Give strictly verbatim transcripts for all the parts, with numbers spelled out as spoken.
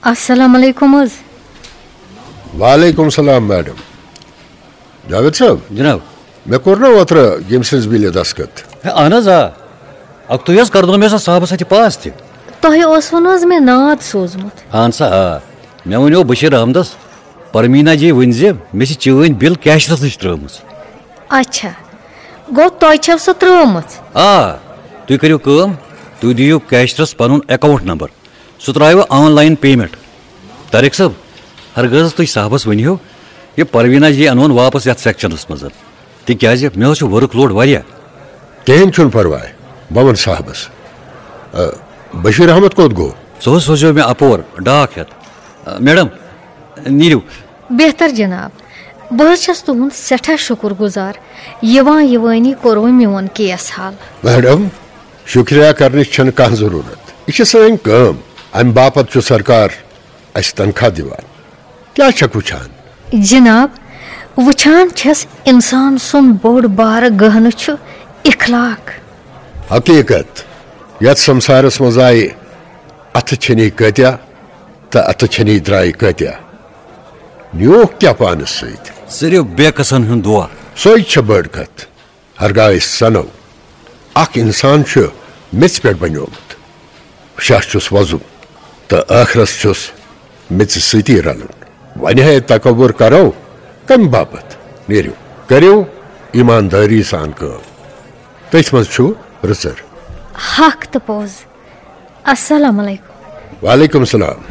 السلام علیکم حظ۔ وعلیکم السلام میڈم۔ جاوید صٲب، جناب۔ مےٚ کوٚر نا اوترٕ ییٚمہِ سٕنٛز بِلہِ دستخط؟ ہے، اہن حظ، آ۔ اکھتُے حظ کرنوو مےٚ سۄ صاحبس اَتھِ پاس تہِ۔ تۄہہِ اوسوٕ نہٕ حظ مےٚ ناد سوٗزمُت؟ اہن سا، آ۔ مےٚ ونیو بشیر احمدس، پرمینا جی ؤنۍ زِ مےٚ چھِ چٲنۍ بِل کیشرس نِش ترٲومٕژ۔ اچھا، گوٚو تۄہہِ چھو سۄ ترٲومٕژ؟ آ، تُہۍ کٔرِو کٲم، تُہۍ دِیِو کیشرس پنُن اکاؤنٹ نمبر۔ سُہ ترٛاوِ آن لائن پیمنٹ۔ طارق صٲب، ہرگاز تُہۍ صاحبس ؤنِو، یہِ پروینا جی انون واپس یتھ سیکشنس منٛز، تِکیازِ مےٚ حظ چھُ ورک لوڈ واریاہ۔ کِہیٖنۍ چھُنہٕ پرواے، بہٕ وَنہٕ صاحبس۔ آ، بشیر احمد کوٚت گوٚو؟ سُہ حظ سوزیو مےٚ اپور ڈاک ہٮ۪تھ۔ آ، میڈم، نیٖرِو۔ بہتر جناب، بہٕ حظ چھَس تُہُنٛد سٮ۪ٹھاہ شُکُر گُزار، یِوان یِوٲنی کوٚروٕ میون کیس حل۔ میڈم، شُکریہ کرنٕچ چھَنہٕ کانٛہہ ضروٗرت، یہِ چھِ سٲنۍ کٲم، امہِ باپتھ چھُ سرکار اسہِ تنخواہ دِوان۔ کیٛاہ چھکھ وٕچھان؟ جناب، وٕچھان چھَس انسان سُنٛد بوٚڑ بارٕ گہنہٕ چھُ اخلاق۔ حقیقت، یتھ سمسارس منٛز آیہِ اتھٕ چھٔنی کٲتیاہ تہٕ اتھٕ چھٔنی درایہِ کٲتیاہ، نیوٗکھ کیٛاہ پانس سۭتۍ؟ صرف بے کسن ہُنٛد دعا۔ سۄے چھےٚ بٔڑ کتھ۔ ہرگاہ أسۍ سنو، اکھ انسان چھُ میٚژِ پٮ۪ٹھ بنیومُت، شاہ چھُس وۄزُم تہٕ ٲخرس چھُس میٚژِ سۭتی رلُن۔ وۄنۍ ہے تکبر کرو کمہِ باپتھ؟ نیرِو، کٔرِو ایماندٲری سان کٲم۔ تٔتھۍ منٛز چھُ رٕژر۔ حق تہٕ پوٚز۔ السلام علیکم۔ وعلیکم السلام۔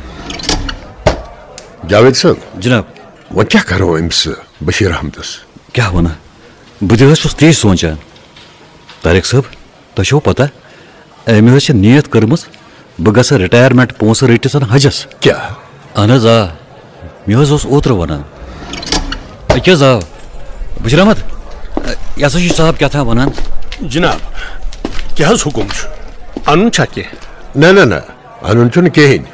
جاوید صٲب۔ جناب۔ وۄنۍ کیٛاہ کرو أمِس بشیر احمدس؟ کیٛاہ ونہٕ؟ بہٕ تہِ حظ چھُس تی سونٛچان۔ طارق صٲب، تۄہہِ چھو پتہ، أمۍ حظ چھِ نیت کٔرمٕژ، بہٕ گژھٕ رِٹایرمنٹ پونٛسہٕ رٔٹِتھ حجس۔ کیٛاہ؟ اہن حظ، آ۔ مےٚ حظ اوس اوترٕ ونان۔ أکہِ حظ آو۔ بشیر احمد، یہِ ہسا چھُ صاحب کیٛاہ تام ونان۔ جناب، کیٛاہ حظ حُکم چھُ؟ انُن چھا کینٛہہ؟ نہ، نہ، نہ، انُن چھُنہٕ کِہیٖنۍ۔